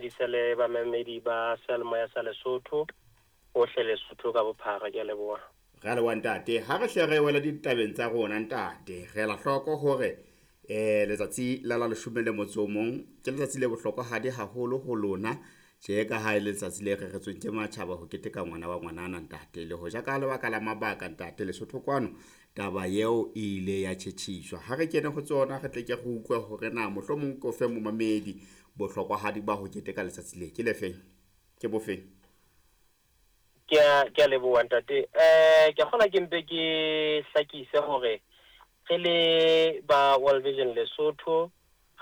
dumedise le bamamedi ba seyalemoya sa Lesotho, hohle Lesotho ka bophara. Ke a leboha. Re a leboha ntate. Ha re hle re wela ditabeng tsa rona ntate, re ela hloko hore letsatsi la la leshome le motso o mong ke letsatsi le bohlokwahadi haholo ho lona tje ka ha e le letsatsi le reretsweng ke matjhaba ho keteka ngwana wa ngwanana ntate. Le hoja ka lebaka la mabaka ntate Lesotho kwano taba eo e ile ya tjhetjhiswa. Ha re kene ho tsona re tle ke re utlwe hore na mohlomong ke o fe momamedi bohlokwahadi ba ho keteka letsatsi le ke lefeng, ke bofeng? Ke a leboha ntate. Ke a kgolwa ke mpe ke hlakise hore re le ba World Vision Lesotho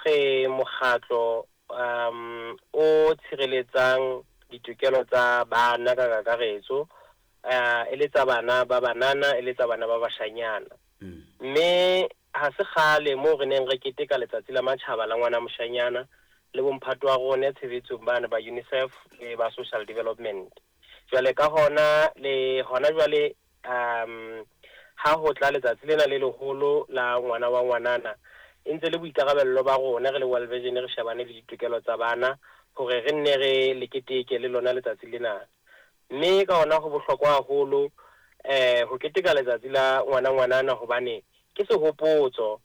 re mokgatlo o tshireletsang ditokelo tsa bana ka kakaretso, e le tsa bana ba banana, e le tsa bana ba bashanyana. Mme ha se kgale moo re neng re keteka letsatsi la matjhaba la ngwana moshanyana le bomphato wa rona tshebetsong bana ba UNICEF le ba Social Development. Jwale ka hona le hona jwale ha ho tla letsatsi lena le leholo la ngwana wa ngwanana, e ntse le boikarabello ba rona re le World Vision re shebane le ditokelo tsa bana hore re nne re le keteke le lona letsatsi lena. Mme ka hona ho bohlokwa haholo ho keteka letsatsi la ngwana ngwanana hobane ke sehopotso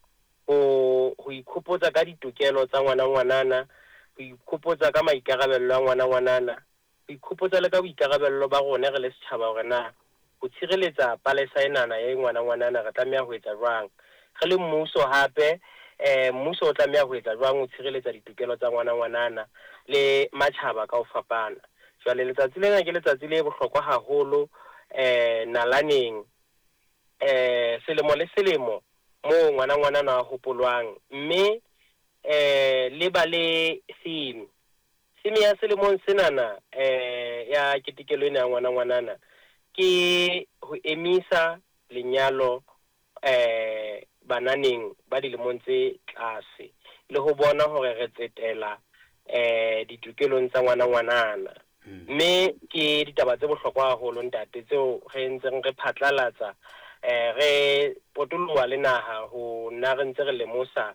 ho ikhopotsa ka ditokelo tsa ngwana ngwanana, ho ikhopotsa ka maikarabello a ngwana ngwanana, ho ikhopotsa le ka boikarabello ba rona re le setjhaba hore na ho tshireletsa palesa enana ya ngwana ngwanana re tlameha ho etsa jwang. Re le mmuso hape, mmuso o tlameha ho etsa jwang ho tshireletsa ditokelo tsa ngwana ngwanana le matjhaba ka ho fapana. Jwale letsatsi lena ke letsatsi le bohlokwa haholo nalaneng, selemo le selemo moo ngwana ngwanana a hopolwang, mme le ba le theme. Theme ya selemong senana ya ketekelo ena ya ngwana ngwanana ke ho emisa lenyalo bananeng ba dilemong tse tlase le ho bona hore re tsetela ditokelong tsa ngwana ngwanana. Mme ke ditaba tse bohlokwa haholo ntate tseo re ntseng re phatlalatsa, re potoloha le naha ho nna re ntse re lemosa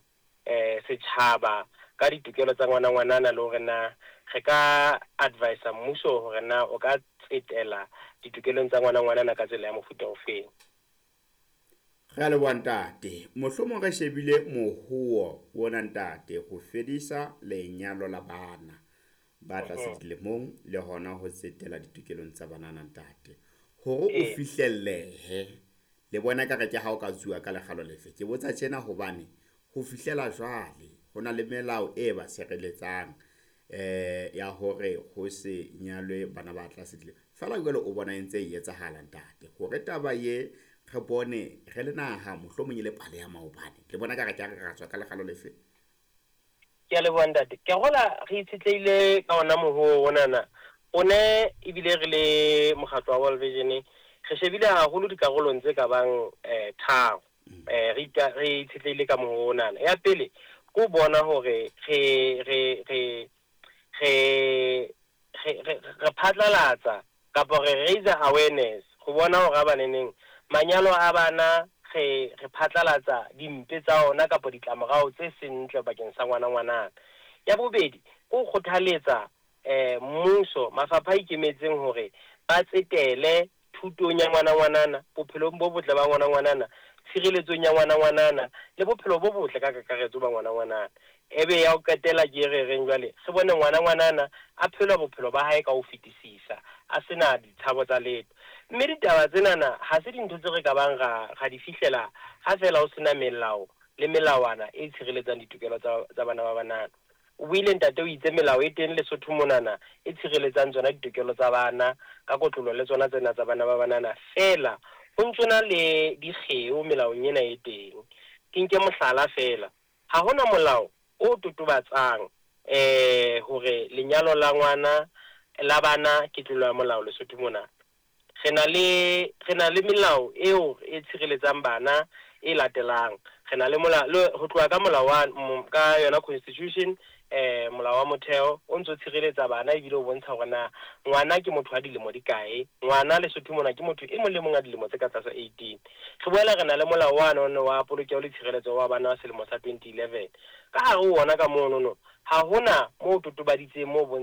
setjhaba ka ditokelo tsa ngwana ngwanana le hore na re ka advisa mmuso hore na o ka tsetela ditokelong tsa ngwana ngwanana ka tsela ya mofuta ofeng. Re a leboha ntate. Mohlomong re shebile mohuo ona ntate ho fedisa lenyalo la bana ba tlase dilemong le hona ho tsetela ditokelong tsa banana ntate. Hore o fihlellehe, le bona ekare ke ha o ka tsuwa ka lekgalo lefe. Ke botsa tjena hobane ho fihlela jwale ho na le melao e ba sireletsang ya hore ho se nyalwe bana ba tlase dilemong. Feela jwale o bona e ntse e etsahala ntate. Hore taba ye re bone re le naha mohlomong e le pale ya maobane. Le bona ekare ke ha re ra tswa ka lekgalo lefe? Ke a leboha ntate. Ke a kgolwa re itshetlehile ka ona mohoo onana. O ne ebile re le mokgatlo wa World Vision re shebile haholo dikarolong tse ka bang tharo. Re itshetlehile ka mohoo onana. Ya pele ke ho bona hore re phatlalatsa kapa re raise awareness ho bona hore ha baneneng manyalo a bana re phatlalatsa dimpe tsa ona kapa ditlamorao tse seng ntle bakeng sa ngwana ngwanana. Ya bobedi ke ho kgothaletsa mmuso, mafapha a ikemetseng hore ba tsetele thutong ya ngwana ngwanana, bophelong bo botle ba ngwana ngwanana, tshireletsong ya ngwana ngwanana le bophelo bo botle ka kakaretso ba ngwana ngwanana. Ebe ya ho qetela ke re reng jwale re bone ngwana ngwanana a phela bophelo ba hae ka ho fetisisa, a sena ditshabo tsa letho. Mme ditaba tsenana ha se dintho tse re ka bang ra di fihlela ha fela ho sena melao le melawana e tshireletsang ditokelo tsa bana ba banana. O buile ntate o itse melao e teng Lesotho monana e tshireletsang tsona ditokelo tsa bana ka kotlolo le tsona tsena tsa bana ba banana. Feela ho ntsona le dikgeo melaong ena e teng. Ke nke mohlala feela, ha hona molao o totobatsang hore lenyalo la ngwana la bana ke tlolo ya molao Lesotho mona. Re na le melao eo e tshireletsang bana e latelang. Re na le molao ho tloha ka molao wa ka yona constitution, molao wa motheo o ntso tshireletsa bana ebile o bontsha hore na ngwana ke motho wa dilemo di kae. Ngwana Lesotho mona ke motho e mong le mong a dilemo tse ka tlasa 18. Re boela re na le molao wa nono wa polokeho le tshireletso wa bana wa selemo sa 2011. Ka hare ho ona ka monono ha hona moo totobaditseng moo